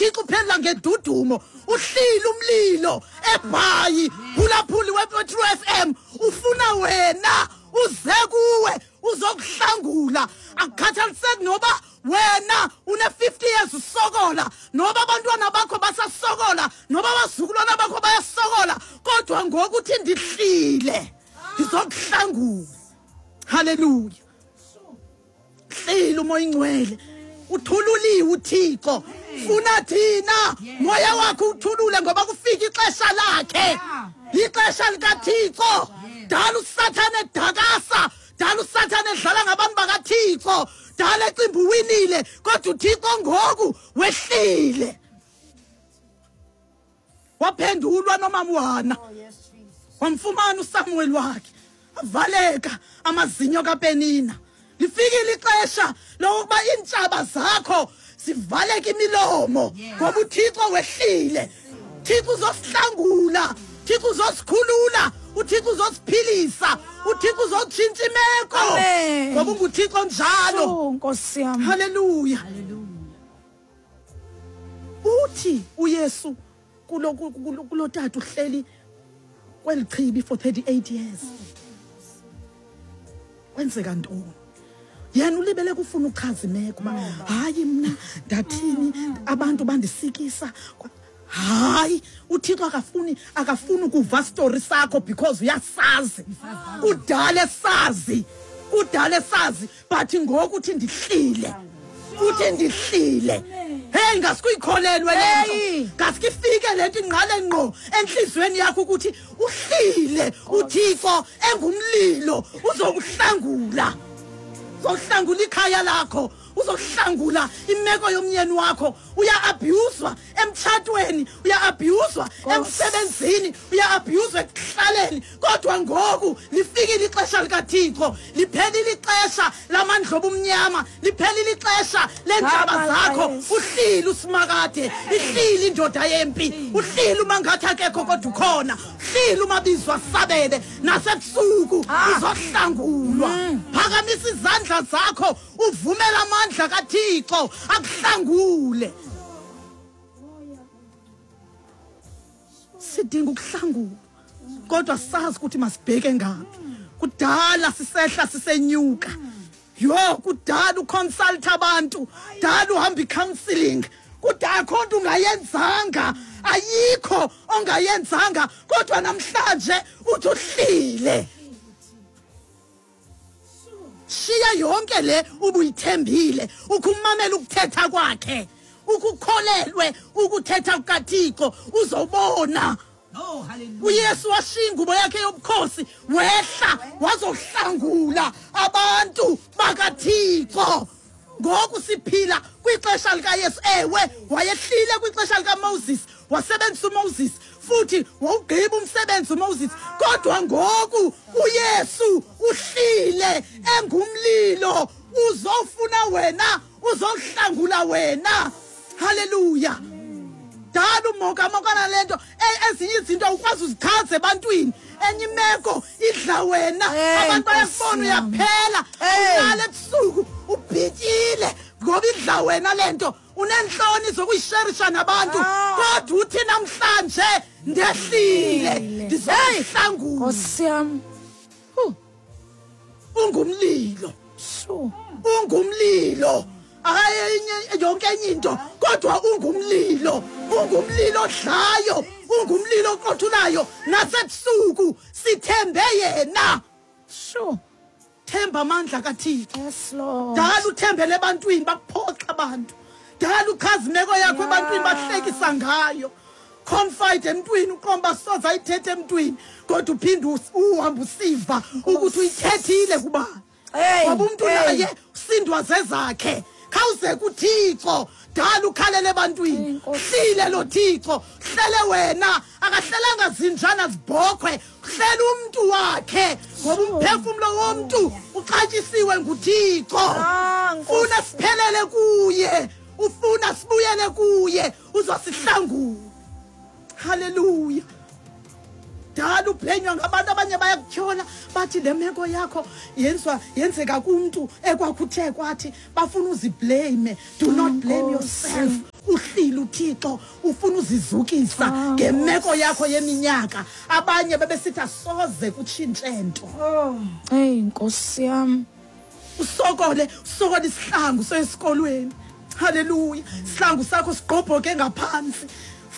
uThixo uphendula ngedudumo. Uhlile umlilo eBhayi, phulaphuli weTrue FM, ufuna wena uze kuwe uzokuhlangula. Akukhathaliseki noba wena une-50 years usokola, noba abantwana bakho basasokola, noba abazukulwana bakho bayasokola, kodwa ngoku uthi ndihlile ndizokuhlangula. Haleluya. Hlile uMoya Ingcwele, uthululiwe uThixo. Funa thina moya wakhe uthulule, ngoba kufika ixesha lakhe, ixesha likaThixo. Dala uSathane edakasa, dala uSathane edlala ngabantu bakaThixo, dala ecimba uwinile, kodwa uThixo ngoku wehlile. Waphendulwa nomama uHana, wamfumana uSamuel wakhe, avaleka amazinyo kaPenina. Lifikile ixesha lokuba iintshaba zakho zivaleke imilomo, ngoba uThixo wehlile. Thixo uzosihlangula, Thixo uzosikhulula, uThixo uzosiphilisa, uThixo uzotshintsha imeko, ngoba unguThixo njalo. Oh, Nkosi yam. Haleluya. Uthi uYesu kulo kulo kulo tata uhleli kweli chibi for 38 years. Kwenzeka ntoni? Yena ulibele kufuna ukuchaza imeko uba hayi mna ndathini, abantu bandisikisa. Hayi, uThixo akafuni ukuva story sakho, because uyasazi, kudala esazi, kudala esazi. But ngoku uthi ndihlile, uthi ndihlile. Hey, ngasikuyikholelwe le nto, ngaske ifike le nto ingqale ngqo entliziyweni yakho ukuthi uhlile uThixo engumlilo, uzokuhlangula, uzohlangula ikhaya lakho, uzohlangula imeko yomnyeni wakho. Uya-abhuzwa emtshatweni, uya-abhuzwa emsebenzini, uya-abhuzwa ekuhlaleni, kodwa ngoku lifikile ixesha likaThixo. Liphelile ixesha lamandla obumnyama, liphelile ixesha leentshaba zakho. Uhlile uSimakade, ihlile indoda yempi, uhlile uma ngathi akekho kodwa ukhona, uhlile umabizwa asabele nasebusuku. Uzohlangulwa. Phakamisa izandla zakho, uvumela amandla kaThixo akuhlangule. Sidinga ukuhlangulwa, kodwa sazi ukuthi masibheke ngaphi. Kudala sisehla sisenyuka, yho, kudala uconsult abantu, dala uhamba i-counselling, kudala akho nto ungayenzanga, ayikho ongayenzanga, kodwa namhlanje uthi uhlile. Shiya yonke le ubuyithembile, ukumamela ukuthetha kwakhe, ukukholelwe ukuthetha kukaThixo, uzobona. Oh, hallelujah. uYesu washiya ingubo yakhe yobukhosi, wehla wazohlangula abantu bakaThixo. Ngoku siphila kwixesha likaYesu. Ewe, wayehlile kwixesha likaMoses, wasebenzisa uMoses futhi wawugqiba umsebenzi uMoses, kodwa ngoku uYesu uhlile engumlilo, uzofuna wena, uzohlangula wena. Haleluya. Dala umokamokana le nto. Ezinye izinto awukwazi uzichaza ebantwini, enye imeko idla wena. Hey, abantu bayakubona Nkosi yam. uyaphela, Hey. ulala ebusuku ubhityile ngoba idla wena le nto, uneentloni zokuyisherisha nabantu. Kodwa uthi namhlanje ndehlile, ndizokuhlangula. Nkosi yam. Ungumlilo. Sure. Ungumlilo, akayenye yonke enye into, kodwa ungumlilo, ungumlilo odlayo, ungumlilo oqothulayo nasebusuku. Sithembe yena. Themba amandla kaThixo. Yes, Lord. Dala uthembele ebantwini, bakuphoxa abantu. Dala uchaza imeko yakho ebantwini, bahlekisa ngayo. Confide emntwini, uqomba soze ayithethe emntwini, kodwa uphinde uhambe usiva ukuthi uyithethile kubani. Hey, ngoba umntu hey. naye usindwa zezakhe. Khawuze kuThixo, dala ukhalele ebantwini. Hey, Nkosi. Hlile lo Thixo, hlele wena, akahlelanga zinjana zibhokhwe, hlela umntu wakhe, ngoba umphefumlo womntu uxatyisiwe nguThixo. Ah, Nkosi. Funa siphelele kuye, ufuna sibuyele kuye, uzosihlangula. Haleluya. Dala uphenywa ngabantu, abanye bayakutyhola, bathi le meko yakho yenzeka kumntu ekwakuthe kwathi, bafuna uziblame. Do not blame Nkosi. yourself. Uhlile. uThixo ufuna uzizukisa ngemeko yakho yeminyaka. Abanye bebesithi asoze kutshintshe nto. Hey Nkosi yami. Usokole, usokole isihlangu sesikolweni. Hallelujah. Isihlangu sakho sigqobhoke ngaphansi.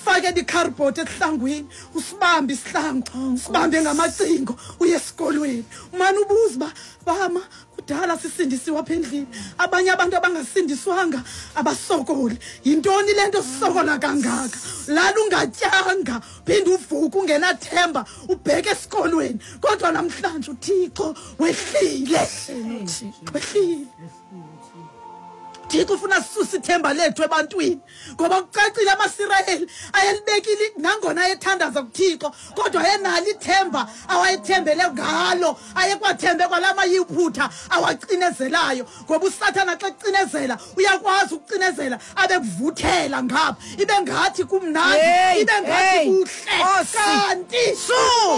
Fake i-cardboard esihlangwini, usibambe isihlangu, usibambe ngamacingo uye esikolweni. Umane ubuza uba bama kudala sisindisiwe apha endlini. Abanye abantu abangasindiswanga abasokoli. Yintoni le nto sisokola kangaka? Lala ungatyanga, phinde uvuke ungenathemba, ubheke esikolweni. Kodwa namhlanje uThixo wehlile. Wehlile. Thixo ufuna sisuse ithemba lethu ebantwini, ngoba kucacile amaSirayeli ayelibekile nangona ayethandaza kuThixo, kodwa ayenalo ithemba awayethembele ngalo, ayekwathembe kwala mayiphutha awacinezelayo. Ngoba uSathana xa kucinezela uyakwazi ukucinezela abe kuvuthela ngapha, ibe ngathi kumnandi, ibe ngathi kuhle, kanti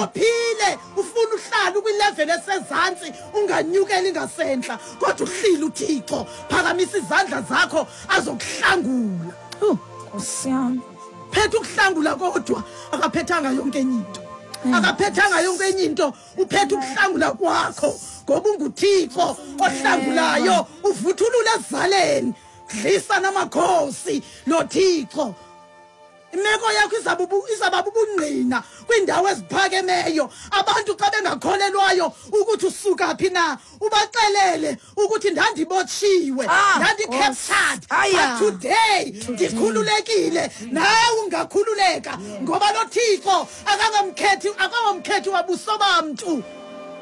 uphile ufuna uhlala ukwilevel esezantsi unganyukeli ngasentla, kodwa uhlile uThixo. Phakamisa izandla zakho azokuhlangula. Nkosi yami. Phethe ukuhlangula kodwa akaphethanga yonke enye into. Akaphethanga yonke enye into, uphethe ukuhlangula kwakho ngoba unguThixo ohlangulayo, uvuthulula ezaleni, dlisa namakhosi lo Thixo. Imeko yakho izaba bubungqina kwiindawo eziphakemeyo. Abantu xa bengakholelwayo ukuthi usuka phi na, ubaxelele ukuthi ndandibotshiwe, ndandi-captured, but today ndikhululekile. Nawe ungakhululeka ngoba lo Thixo akangamkhethi wabuso bamntu.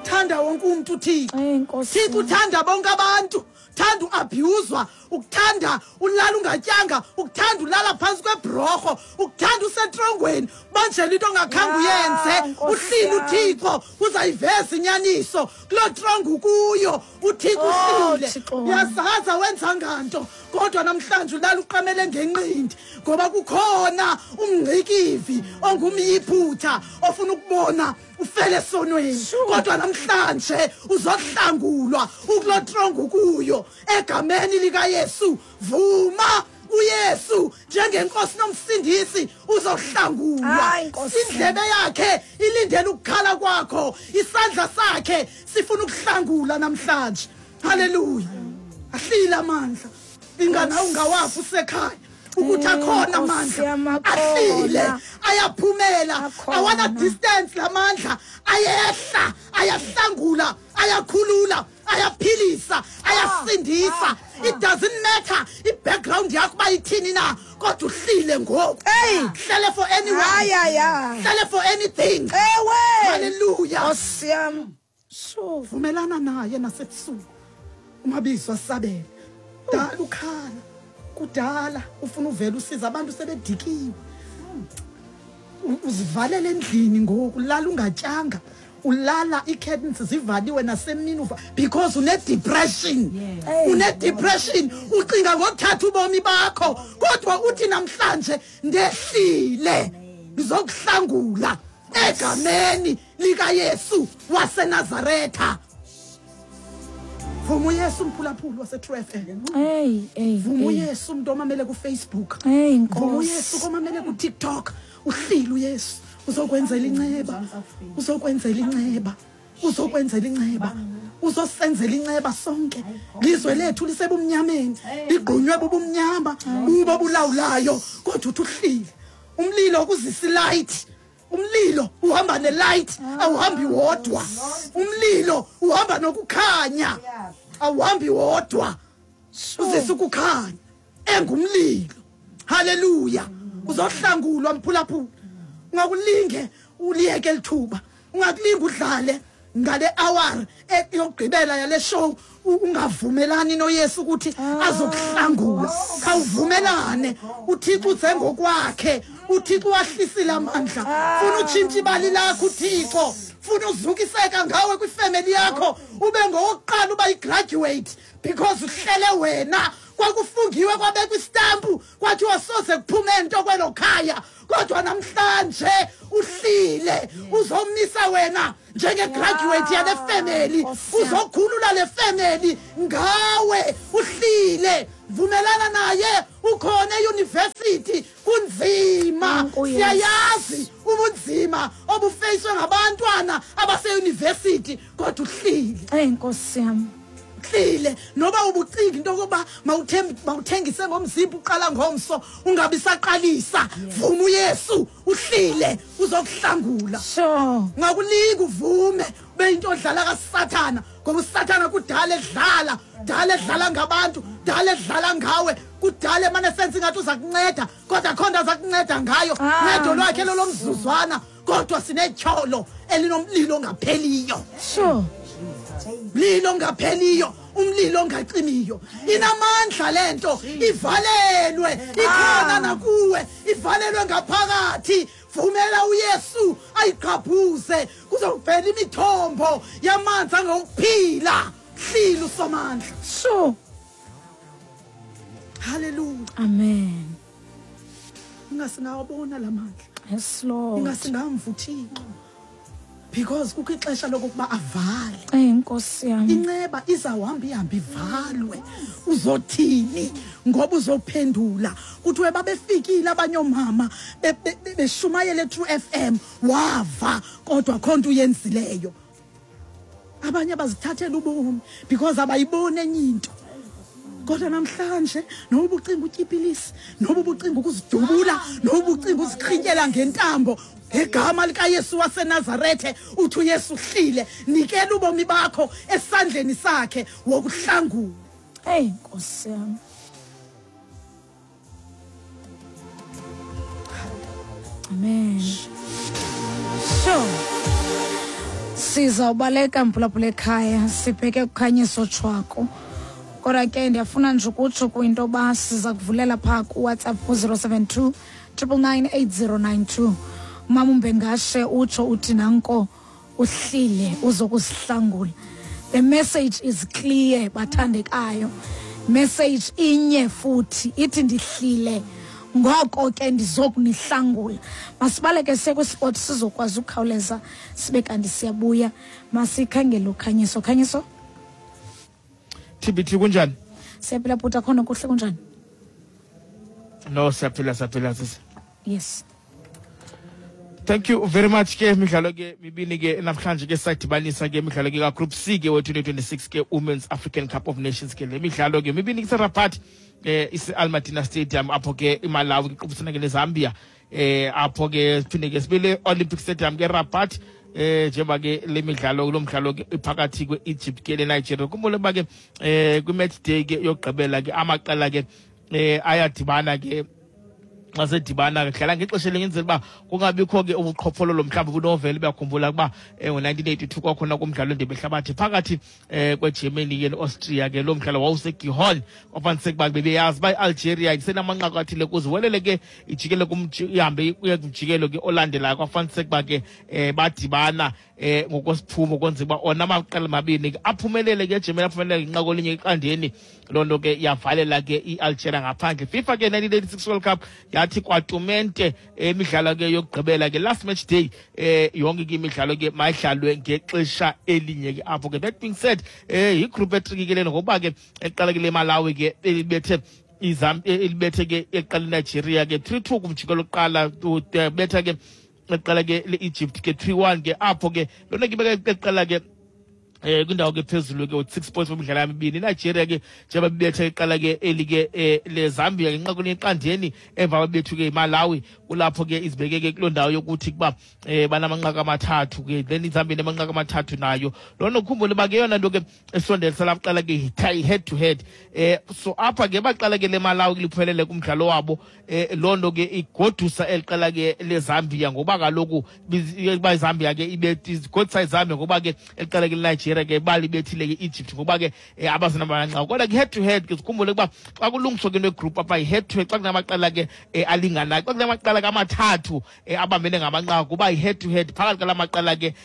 Thanda wonke umntu uThixo. Thixo uthanda bonke abantu. Thanda uabhuzwa, ukuthanda ulala ungatyanga, ukuthanda ulala phantsi kwebhrorho, ukuthanda usetrongweni, banjela into ongakhange uyenze. Uhlile uThixo, uzayiveza inyaniso kuloo trongo kuyo. uThixo uhlile. Uyazaza wenza nganto, kodwa namhlanje ulala uqamele ngenqindi ngoba kukhona umngcikivi ongumyiphutha ofuna ukubona ufele esonweni. Kodwa namhlanje uzohlangulwa ukuloo trongo kuyo egameni likaYesu. Vuma uYesu njengenkosi nomsindisi, uzohlangulwa. Indlebe yakhe ilindele ukukhala kwakho, isandla sakhe sifuna ukuhlangula namhlanje. Haleluya. Ahlile amandla, ingana ungawafi usekhaya ukuthi akhona amandla, ahlile, ayaphumela, awana distance lamandla, ayehla, ayahlangula, ayakhulula, ayaphilisa, ayasindisa. It doesn't matter i-background yakho uba ithini na, kodwa uhlile ngoku. Hlele for anyone, hlele for anything. Hallelujah. Vumelana naye nasebusuku, umabizo asabele. Dala ukhala kudala ufuna uvela usiza abantu sebedikiwe. Uzivalele endlini ngoku, ulala ungatyanga, ulala ii-curtains zivaliwe nasemini uva because une-depression. Une-depression, ucinga ngothatha ubomi bakho, kodwa uthi namhlanje ndehlile, ndizokuhlangula egameni likaYesu waseNazaretha. Vuma uYesu mphulaphuli wase-True FM. Vuma uYesu umntu omamele kuFacebook. Vuma uYesu komamele kuTikTok. Uhlile uYesu, uzokwenzela inceba, uzokwenzela inceba, uzokwenzela inceba, uzosenzela inceba sonke. Lizwe lethu lisebumnyameni, ligqunywe bubumnyama, bubo bulawulayo, kodwa uthi uhlile. Umlilo ukuzisa ilight. Umlilo uhamba nelight, awuhambi wodwa. Umlilo uhamba nokukhanya, awuhambi wodwa. Uzisa ukukhanya engumlilo. Haleluya. Uzohlangulwa mphulaphula. Ungakulinge uliyeke elithuba, ungakulinge udlale ngale hour yokugqibela yale show ungavumelani noYesu ukuthi azokuhlangula. Khawuvumelane, uThixo uze ngokwakhe, uThixo wahlisile amandla. Funa utshintshe ibali lakho uThixo, funa uzukiseka ngawe kwifemeli yakho, ube ngowokuqala uba yi-graduate because uhlele wena. Kwakufungiwe kwabekwa istampu kwathiwa soze kuphume nto kwelo khaya, kodwa namhlanje uhlile, uzomisa wena njenge-graduate yale family, uzokhulula le family ngawe. Uhlile, vumelana naye, ukhona e-university. Kunzima, siyayazi ubunzima obufeyiswe ngabantwana abaseyunivesithi, kodwa uhlile. Eyi Nkosi yam. Uhlile noba ubucinga into yokuba mawuthengise ngomzimba uqala ngomso ungabi saqalisa. Vuma uYesu, uhlile uzokuhlangula. Sure. Ungakulinga uvume ube into odlala kaSathana, ngoba uSathana kudala edlala, dala edlala ngabantu, dala edlala ngawe, kudala emane senza ingathi uza kunceda, kodwa akho nto aza kunceda ngayo. Ncedo lwakhe lolomzuzwana, kodwa sinetyholo elinomlilo ongapheliyo. Sure. Mlilo ongapheliyo, umlilo ongacimiyo. Inamandla lento, ivalelwe, ikhona nakuwe, ivalelwe ngaphakathi. Vumela uYesu ayiqhabhuze, kuzovela imithombo yamanzi angokuphila. Hlila uSomandla. Sure. Hallelujah. Amen. Ingasingawabona lamandla. Yes Lord. Ingasingamva uThixo. Because kukho ixesha lokuba avale. Ey Nkosi yami. Inceba izawuhamba ihambe ivalwe. Uzothini? Ngoba uzophendula. Kuthiwe babefikile abanye oomama beshumayele True FM, wava kodwa akho nto uyenzileyo. Abanye bazithathela ubomi because abayiboni enye into. Kodwa namhlanje noba ubucinga utyipilisi, noba ubucinga ukuzidubula, noba ubucinga uzikrityela ngentambo, ngegama likaYesu waseNazarethe uthi uYesu uhlile, nikela ubomi bakho esandleni sakhe wokuhlangula. Hey Nkosi yami. Amen. Sure. Sizawubaleka mphulaphula ekhaya sibheke kukhanyiso tshwako. Kodwa ke ndiyafuna nje ukutsho kwinto yoba siza kuvulela phaa kuWhatsApp ku-072 999 8092. Umama uMbengashe utsho uthi nanko uhlile uzokusihlangula. The message is clear, bathandekayo. Message inye futhi ithi ndihlile, ngoko ke ndizokunihlangula. Masibaleke siye kwisport sizokwazi ukukhawuleza sibe kanti siyabuya. Masikhangele ukhanyiso. Khanyiso? TBT kunjani? Siyaphila bhuti, akhona kuhle, kunjani? No, siyaphila, siyaphila sisi. Yes. Thank you very much ke imidlalo ke mibini ke namhlanje ke sadibanisa ke imidlalo ke ka Group C ke we-2026 ke Women's African Cup of Nations ke le midlalo ke mibini kuse-Rabat ise Al Madina Stadium apho ke iMalawi iqubisana ke neZambia apho ke siphinde ke sibile Olympic Stadium ke Rabat njengoba ke le midlalo lo mdlalo ke iphakathi kwe-Egypt ke neNigeria. Khumbule uba ke kwi-match day ke yokugqibela ke amaqela ke ayadibana ke xa sedibana ke dlala ngexesha elinye enzela uba kungabikho ke ubuqhophololo mhlawumbi bunovele. Uyakhumbula ukuba ngo-1982 kwakhona kumdlalo wendebe yehlabathi phakathi kweGermany ke ne-Austria ke lo mdlalo wawuseGihon, kwafaniseka uba bebeyazi uba i-Algeria isenamanqaku athile kuze welele ke ijikele ihambe kuye kumjikelo ke olandelayo. Kwafaniseka uba ke badibana ngokwesiphumo kwenzeka uba ona amaqela mabini ke aphumelele ke eGermany aphumelele ngenqaku elinye eqandeni. Loo nto ke yavalela ke i-Algeria ngaphandle. FIFA ke 1986 World Cup yathi kwatumente imidlalo ke yokugqibela ke last match day yonke ke imidlalo ke mayidlalwe ngexesha elinye ke apho ke. That being said, yigroup etriki ke lena ngokuba ke eqala ke le Malawi ke elibethe elibethe ke eqala iNigeria ke 3-2 kumjikelo lokuqala, betha ke eqala ke le-Egypt ke 3-1 ke apho ke lona ke beka eqala ke kwindawo ke phezulu ke with 6 points kwimidlalo yamibini. INigeria ke njengoba bibetha iqala ke eli ke le Zambia ngenxa kweqandeni emva babethu ke iMalawi, kulapho ke izibeke ke kuloo ndawo yokuthi kuba banamanqaku amathathu ke, then iZambia inamanqaku amathathu nayo. Loo nto khumbule uba ke yona nto ke esondelisa laa qala ke head to head. So apha ke baqala ke le Malawi liphumelele kumdlalo wabo, loo nto ke igodusa eli qela ke leZambia ngoba kaloku uba iZambia ke igodusa iZambia ngoba ke eli qela ke leNigeria ke balibethile ke Egypt ngoba ke abasenamanqaku. Kodwa ke head to head ke sikhumbule ukuba xa kulungiswa ke into apha yi-head to head, xa kunamaqela ke alinganayo, xa kunamaqela ke amathathu abambene ngamanqaku kuba yi-head to head phakathi kwala maqela ke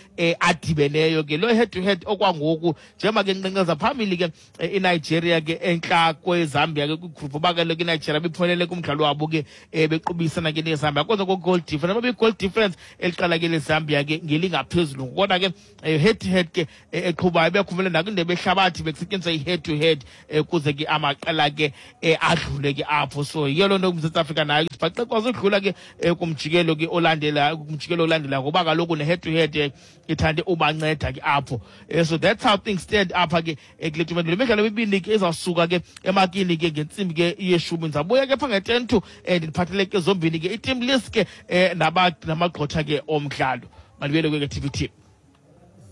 adibeneyo ke. Loo head to head okwangoku njengoba ke nqenqeza phambili ke iNigeria ke entla kweZambia ke kwigroup, uba kaloku iNigeria biphumelele kumdlalo wabo ke bequbisana ke neZambia kodwa ko-goal difference, noba i-goal difference eliqala ke leZambia ke ngelingaphezulu, kodwa ke head to head ke. iqhubayo. Bekhumele nakwindebe ehlabathi bekusetyenziswa i-head to head kuze ke amaqela ke adlule ke apho. So yiyo loo nto uMzantsi Afrika nayo sibhaqe kwazi udlula ke kumjikelo ke olandela, kumjikelo olandelayo, ngoba kaloku ne-head to head ithande ubanceda ke apho. So that's how things stand apha ke kule tumente. Le midlalo emibini ke izawusuka ke emakini ke ngentsimbi ke yeshumi. Ndizabuya ke pha nge-10 to ndiphathele ke zombini ke i-team list ke namagqotha ke omdlalo. Mandibuyele ke TVT.